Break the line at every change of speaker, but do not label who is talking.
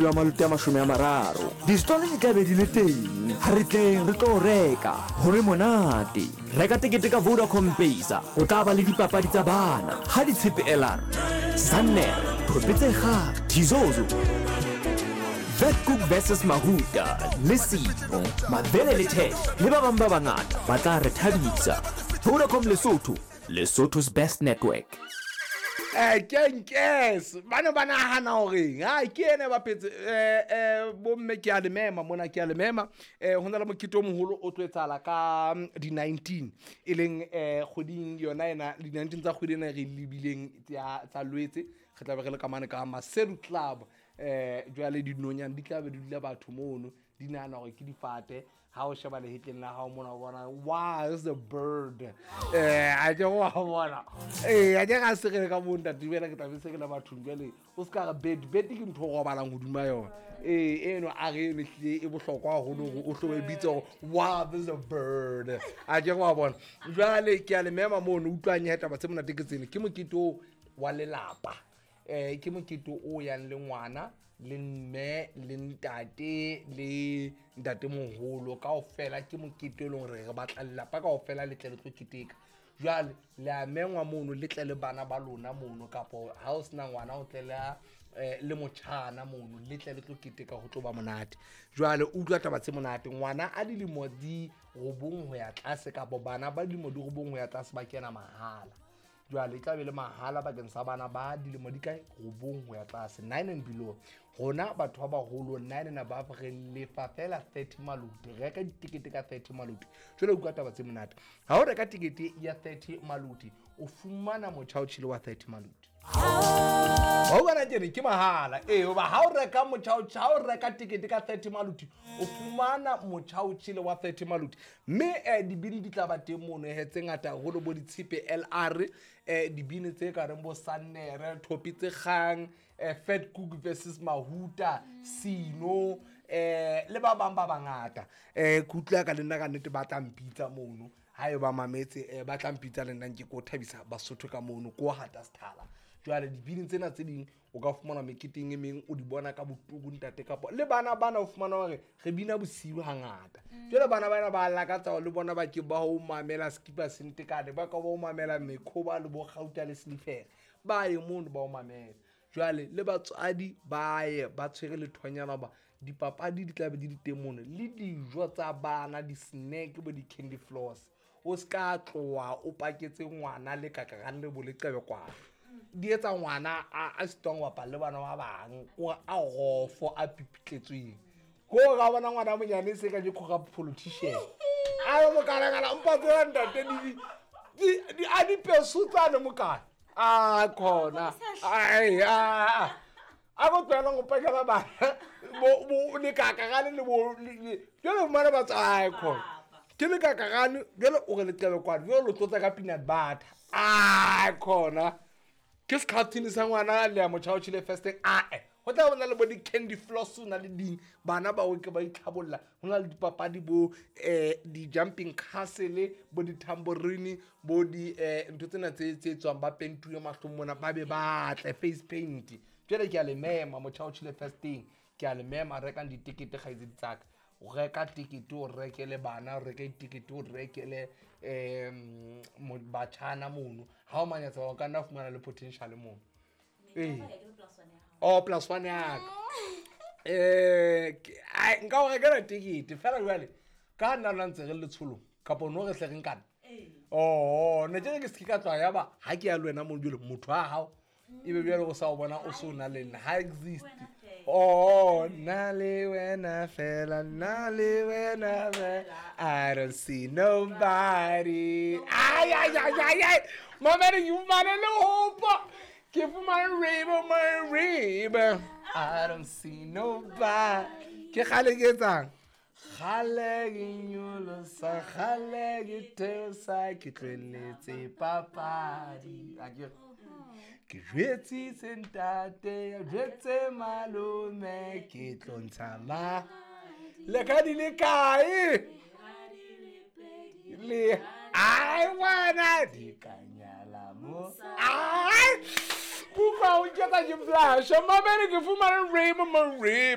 Wa maluti a 30. Distolo di tla be di le teng. Ha re tleng re tlo reka, ho re monate. Reka tekete ka Vodacom Pesa. Ho tla ba le dipapadi tsa bana, ha ditshepe LR, Sanner, Thope tse Kgang, Thizozo, Vetkoek versus Mahuta, le Simo, Mabele le Ted le ba bang ba bangata ba tla re thabisa. Vodacom Lesotho, Lesotho's best network.
Eh, kenkes ba ne ba nagana goreng a ke ene ba phetse um bomme ke a le mema mona ke a le mema um go na le mokete o mogolo o tlo etsala ka di-19 e leng um kgweding yona ena di-19 tsa kgwedi ena re lebileng tsa lwetse re tlabe re le kamane ka maseru club um jale dinonyane di tlabe di dula batho mono di nagana gore ke difate ha o sheba lehetleng la gago mona o bona wow is a bird a ke go a bona ee a ke ga segele ka mo ntate bjale ke tlabe segele bathong jale o se ka re bed bed ke ntho o robalang godima yona ee eno a re eno tlile e bohlokwa gagolo gore o tlo e bitse gore wow this is a bird a ke go a bona jale ke a le mema mono utlwang ya taba tse monate ke tsene ke mokete o wa lelapa um ke mokete o yang le ngwana le mme le ntate le ntatemoholo kao fela ke mokete e leng gore re batla lelapa kao fela le tle le tlo keteka jwale le a mengwa mono le tle le bana ba lona mono kapo ha o sena ngwana o tle le motjhana mono le tle le tlo keteka go tlo ba monate jwale utlwa taba tse monate ngwana a dilemo di robong ho ya tlase kapo bana ba dilemo di robong ho ya tlase ba kena mahala jwale e tla be le mahala bakeng sa bana ba dilemo di kae robong ho ya tlase 9 and below rona batho ba baholo 9 and above re lefa fela 30 maluti reka ditekete ka 30 maluti jwale utlwa taba tse monate ha o reka tekete ya 30 maluti o fumana motjha o tjhele wa 30 maluti wa utlwana ke re ke mahala ee hoba ha o reka motjha ha o reka tekete ka 30 maluti o fumana motjha o tjhele wa 30 maluti mme dibini di tla ba teng mono he tse ngata haholo bo ditshepe LR dibini tse ka reng bo Sannere Thopi tse kgang Fat Cook versus Mahuta Sino le ba bang ba bangata ke utlwa ka le nna ka nnete ba tla mpitsa mono ha e ba mametse ba tla mpitsa le nna nke ko thabisa Basotho ka mono ko hata sethala jwale dibini tsena tse ding o ka fumana meketeng e meng o di bona ka botuku ntate kapo le bana bana o fumana hore re bina bosiu hangata jwale bana bana ba lakatsa le bona ba ke ba o mamela skipa sentekane ba ka ba o mamela mekhoba le bo gauta le silifere ba ye mono ba o mamela jwale le batswadi ba ye ba tshwere lethonyana ba dipapadi di tlabe di di teng mono le dijo tsa bana di-snack bo di-candy floss o se ka tloha o paketse ngwana le kakagane le bo leqebekwana di etsa ngwana a sitwang ho bapala le bana ba bang o a gofo a pipitletsweng ko ga bona ngwana monyane se ka ke corrupt politician a re mokalakala mpa tsela ntate di a dipeso tsane mokana a khona ai a a go tloela go pakela bana bo lekakagane le bo jale fumana ba tsa khona ke lekakagane jale o re leqebekwane jale lo tlotsa ka peanut butter a khona ke sekgathini sa ngwana le ya motšha o tšhile first ae go tla bona le bo di-candy floss o na le ding bana ba oke ba itlhabolla go na le dipapadi bo di-jumping castle bo di-tambourine bo di ntho tsena tse tswang ba pentuwe mahlong mona ba be batle face paint jale ke a le mema motšha o tšhile first thing ke a le mema rekang ditekete kgaitsedi tsaka o reka tekete o rekele bana o reke ditekete o rekele batjhana mono ha o manyatsa o ka nna fumana le potential mono ee oh plus one yaka nka o rekela tekete fela jwale ka nna lona ntse re le letsholong kapo no re tle re nkana oh ne ke re ke se ka tloha ya ba ha ke ya le wena mono jwale motho wa hao e be bjale o sa o bona o se o na le nna ha exist oh nna le wena fela nna le wena fela I don't see nobody ay ay ay ay ay mamere ke fumane le hopa ke fumane rainbow my rainbow I don't see nobody ke kgale ke etsang kgale ke nyolosa kgale ke theosa ke tlohelletse papadi a ke ke jwetsitse ntate jwetse malome ke tlo ntsha ma le ka di le kae le ai wena di ka nyala mo ai kutlwa o nketsa ke blasha mamele ke fumane rainbow my rainbow.